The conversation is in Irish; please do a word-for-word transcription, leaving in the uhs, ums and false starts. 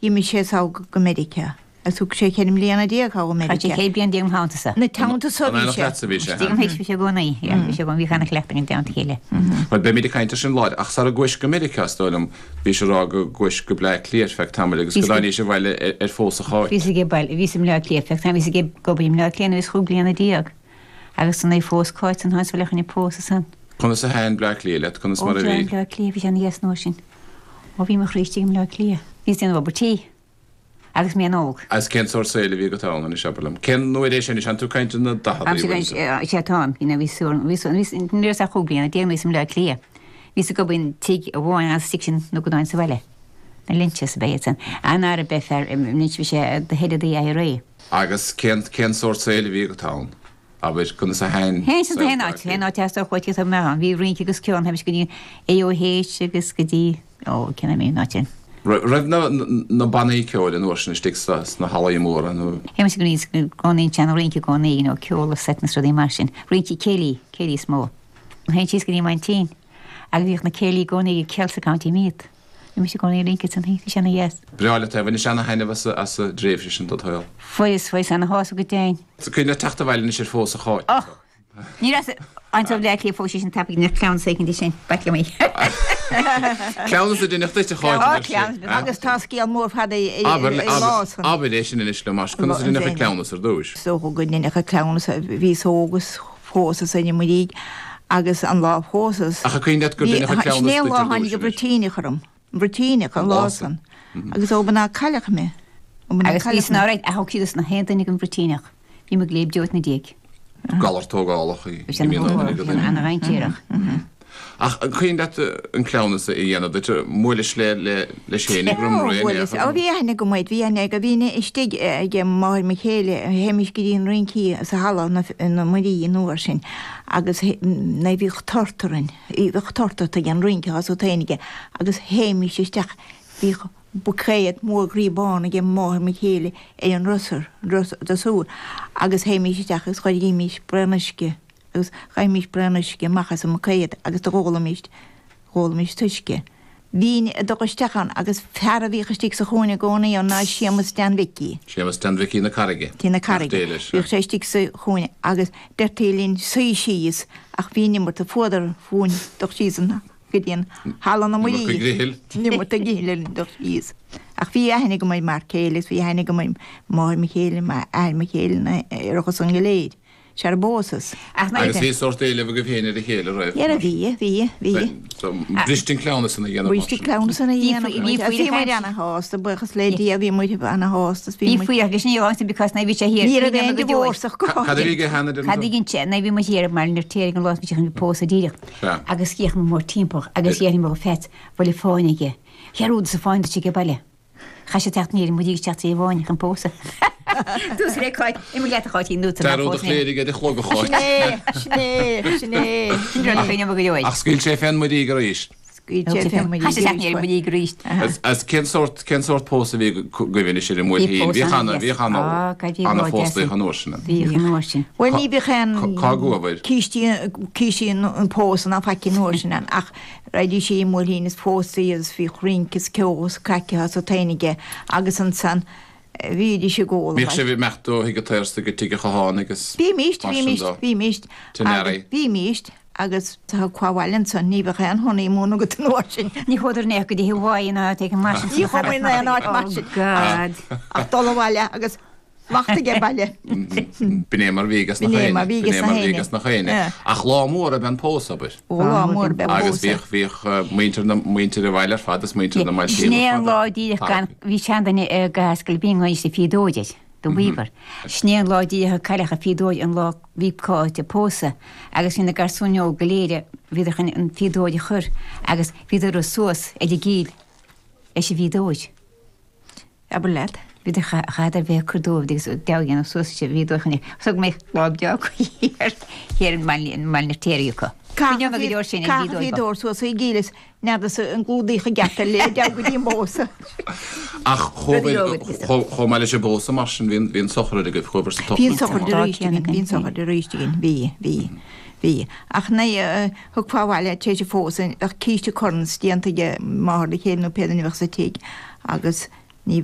D'imigh sé sall go Meiriceá. Agus thug sé ceithre mbliana déag thall i Chaith sé Meiriceá. ceithre bliana déag im theannta-sa. Na teannta so An bhí éineacht sé. leatsa a bhí sé, Istigh im théis bhí sé i gcónaí, yeah, bhí sé i gcónaí, bhíodh ana-chleachtadh againn i dteannta a chéile. Bhuel, beimid ag caint air sin lá, ach sara gcuais go Meiriceá, is dóigh liom, bhís ag rá go gcuais go Bleá Cliath ar feadh tamaill agus go Bhíos go- dtáinís abhaile ar, ar phósadh Cháit. Bhíos ag baile, bhíos i mBleá Cliath, feadh tamaill, bhíos ag obair i mBleá Cliath nuair a bhíos chúig bliana déag. Agus san é phós Cáit san háit bhaile chun pósadh san. Conas a thaitin Bleá Cliath leat, conas Ó, mar a bhí bhí? Bleá Cliath, bhí sé ana-dheas an uair sin. Ó, bhí mo chroí istigh i mBleá Cliath. Bhíos déanamh obair tí. Agus mé an-óg. Agus cén sórt saoil a bhí agat ann anois, abair liom? Cén uair é sin, is an tú ag caint ar na Am daicheadaí, sé bhfuil sé táim, you know, bhí súr, bhí sú, bhí ní raibh ach chúig bliana déag nuair a bhíos i mBleá Cliath. Bhíos ag obair in tigh amháin agus tigh sin nó go dáin sa bhaile. Na Lynches ab ea iad san. An ara bheith fear, Lynch bhí sé the head of the IRA. Agus cén, cén sórt saoil a bhí agat ann? Abair, conas a thaitin Théann siad saol haon Bleá áit, Cliath? haon áit as ar chuid tá mé ann. Bhí rince agus ceol, théimis go dtí AOH agus go dtí, ó, cén ainm an áit sin. Raibh na, na bannaí ceoil an uair sin istigh sa, sna hallaí móra nó Théimis go dtí gcónaí an rince i gcónaí, you know, ceol agus seit na rudaí mar sin. Rince céilí, céilí is mó. Théinn síos go dtí m'aintín agus bhíodh na céilí i gcónaí ag Celsa County Meath. Bhí mise i gcónaí rince san bhí sé ana-dheas. Breá leat é, bhainis ana-thaitneamh as, a- as a dtréimhse sin dod shaol. Fuaireas, fuaireas ana-shásamh go deimhin. So cuimhin leat teacht abhaile anois ar phósadh Cháit. Och! Ní raibh an tó Bleá Cliath fós sin tapaidh na cleamhnas éicint sin, b'ait liom í. Cleamhnas a deineadh duit a Cháit, Ó, a deir sí. cleamhnas. Agus tá scéal mór fada i Abair, i abair, lá san. abair é sin anois liom, más conas a deineadh an cleamhnas ar dtús. So go ndeineadh an cleamhnas bhíos óg agus phósas ina muirígh agus an lá phósas. Ach a cuimhin leat gur deineadh an cleamhnas Sin é an duit lá ar dtús tháinig an anois. Bruitíneach orm. An Bruitíneach an An lá lá san. Agus ó b'ná cailleach mé. Ó b'ná Agus bhí cailleach san mé. áráid a thug siad na haon duine den Bhruitíneach. Bhí mo gléib deoit na déag. Galar tógálach í. Bhí sé ana-dhainséarach. Ach an cuimhin leat an cleamhnas a dhéanamh duit bhuailis le le le Séan ag Ó, Romré bhuaileas. Ó, bhí aithne agam air, bhí aithne aige, bhí aithne istigh ag máthair mo chéile, théimis go dtí an rincí sa halla na, na Muirí an uair sin, agus na bhíodh tort orainn, bhíodh tort ort ag an rince as ó taoinige, agus théimis isteach, bhíodh buicéad mór groí bán ag máthair mo chéile ar an drosar, drosúr, agus théimis isteach agus chuirimís braon uisce, agus chaithimis braon uisce amach as an mbuicéad agus do dh'ólaimis, dh'ólaimis t-uisce. Bhínn ag dul isteach ann agus fear a bhíodh istigh sa chúinne i gcónaí ann ná Séamus Dan Mhicí. Séamus Dan Mhicí na Carraige. Tí na Carraige. Nach dé leis, Bhíodh sé istigh sa chúinne agus deirtí linn suí síos ach bhí an iomarca fuadar fúinn dul síos an go dtí an halla na Iomarca Muirí. grithil. An iomarca grithil linn dul síos. Ach bhí aithne agam ar m'fhear céile agus bhí aithne agam ar máthair mo chéile, m'athair mo chéile na ar a san go léir. Sé ar bósas. Ach na Agus bhí sórt éileamh agaibh féin ar a chéile raibh. Dhera bhí, bhí, bhí. So briste an cleamhnas ina dhéanamh mar Briste sin. cleamhnas ina Bhí dhéanamh. faoi- bhí faoi Bhí muid chaint. ana-shásta, buíochas le Dia, bhí muid ana-shásta. Bhí faoi agus ní áit because na bhí sé thiar. Ní raibh aon divorce ach go Cad a bhí aige cheana Cad a ghin sé, na bhí muid thiar mar ar téir an lá bhí sé chun pósadh díreach. Sea. Agus d'fhéach mé mór timpeall agus dhéanfaidh mé feit bhfuil fáinne aige. Chearúd sa fáinne sé baile. Chaith sé teacht níor muid teacht sé bháin chun pósadh. Tús le Cáit, imigh leat a Cháitín nó Dearúd a chléirigh ar a chlog a Cháit. Sin é, sin é, sin é. Ach scaoil sé fén muirígh arís. Scaoil sé fén muirígh Chaith sé teacht arís. níor muirígh arís. As as cén sórt cén sórt pósadh a bhí agaibh anois ar an mBuailtín? Bhíodh ana bhíodh ana Ah, cad bhí ana lá phóstaí deas. an uair sin. Bhíodh an uair sin. Bhuel ní bhíodh aon Cá gcuabhair? cístí cístí an pósadh ná faic an uair sin ann ach raghaidís i mBuailtín is póstaí agus bhíodh rince is ceol is craic as ó taoinige agus ansan bhídís ag ól. Bhíodh sibh ag imeacht ó thigh an tSaorsa go tigh an Chatháin agus Bhímíst, mar sin bhímíst, dó. bhímíst. Tinearaí. Bhímíst agus tá cuaháil ansan ní bheadh aon honeymoon agat an uair sin. Ní chuadar néach go dtí Hawaii ná ag an mar sin. Ní chuaigh mé in aon áit mar sin. Oh God. Ach dul abhaile agus lacht aige baile. B'in é mar bhí ages na B'in é chaoine. mar bhí B'in ages é na mar bhí haoine. ages na chaoine. Yeah. Ach lá mór ab ea an pósadh abair. Ó lá mór ab ea Agus pósadh. bhíodh bhíodh eh, muintir na muintir an bhaile ar fad is muintir na mbailtín Sin é ar an fad. lá díreach gan bhí seanduine ar gascail bhí an sé fíodóide do Weaver. Sin é an lá díreach a cailleadh a fíodóid an lá bhí Cáit ag pósadh agus bhí na garsúin óg go léir bhíodar chun an fíodóid a chur agus bhíodar suas ar a gcíl leis an bhfíodóid. Abair leat. Bhíodar chaitheadar bheith cur dóibh agus deaghan suas sé bhíodóid chun thug mé lá beag thiar thiar an mbaile na téirí acu. Bhí go leor sin an Caithfidh bhíodóid. dóir suas i gcíles neamhas an glúdaíoch a gceapta le deag go dtí an bpósadh. Ach Rudaí óga agus- chomh maith leis an bpósadh mar sin bhí bhí an sochraid agaibh chuabhair sa Bhí an tochraid. sochraid arís againn, bhí an sochraid arís againn, bhí, bhí, bhí. Ach ní thug fábhaile té sé fós ach císte corns déanta aige máthair le chéile nó pé duine a bheadh sa tigh agus